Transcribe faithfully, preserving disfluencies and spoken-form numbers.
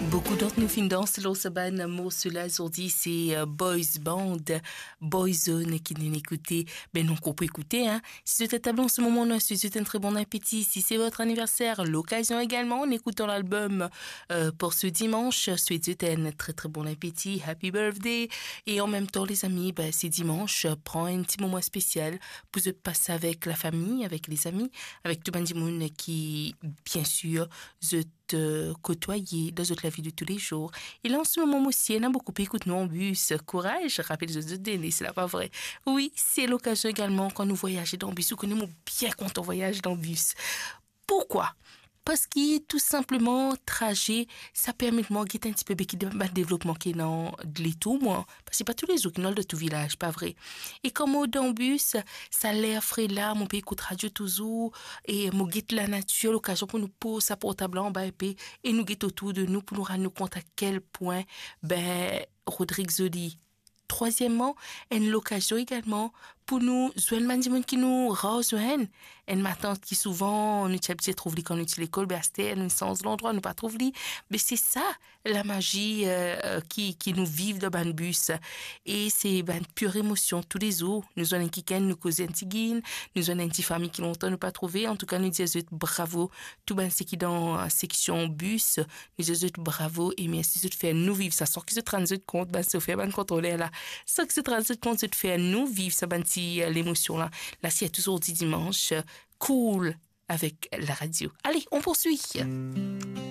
Boukou d'ant nou finn dans lor sa bann morso la zordi, se, euh, boys band, Boyzone ki nou ekoute. Be nou konpran ekoute, hein. Si zot etabli an se moman, nou swet zot enn tre bon apeti. Si se vot aniverser, lokazion egalman, an ekoutan lalbom, euh, pou se dimanz, swet zot enn tre, tre bon apeti, happy birthday. E an mem tan, lezami, be, se dimanz, pran enn ti moman spesial pou zot pas avek lafami, avek lezami, avek tou bann dimoun ki, bien sir, zot, euh, kotwaye dan zot lavi de toulezour. E la, an se moman osi, ena boukou pe ekout nou an bis. Kouraz, rapel zot, zot done, se la, pa vre? Wi, se lokazion egalman kan nou vwayaze dan bis. Ou kone, mo bien kontan vwayaze dan bis. Pourkwa? Parski tou sinpleman, traze, sa permet mwa get enn tipe be ki de-, bann devlopman ki ena letour mwa. Parski pa toulezour ki nou al dan tou vilaz, pa vre? E kan mo dan bis, sa ler fre la, mo pe ekout radio touzour, e mo get lanatir, lokazion pou nou poz sa portab la anba enpe, e nou get otour de nou pou nou rann nou kont a kel pwin, be, Rodrig zoli. Trwazieman, enn lokazion egalman pou nou zwenn bann dimoun ki nou rar zwenn. Enn matant ki souvan nou ti abitie trouv li kan nou ti lekol, be aster nou sanz landrwa, nou pa trouv li. Be se sa, lamazi, euh, euh, ki, ki nou viv dan bann bis. E se bann pir emosion toulezour. Nou zwenn enn kikenn, nou koze enn tigit, nou zwenn enn ti fami ki lontan nou pa trouve. Antouka, nou dir zot bravo, tou bann seki dan, euh, seksion bis. Nou dir zot bravo e mersi zot fer nou viv sa, san ki zot rann zot kont, bann sofer, bann kontroler la, san ki zot rann zot kont, zot fer nou viv sa bann ti, euh, lemosion la. La, se tou zordi dimanz, euh, cool avek laradio. Ale, on poursuit.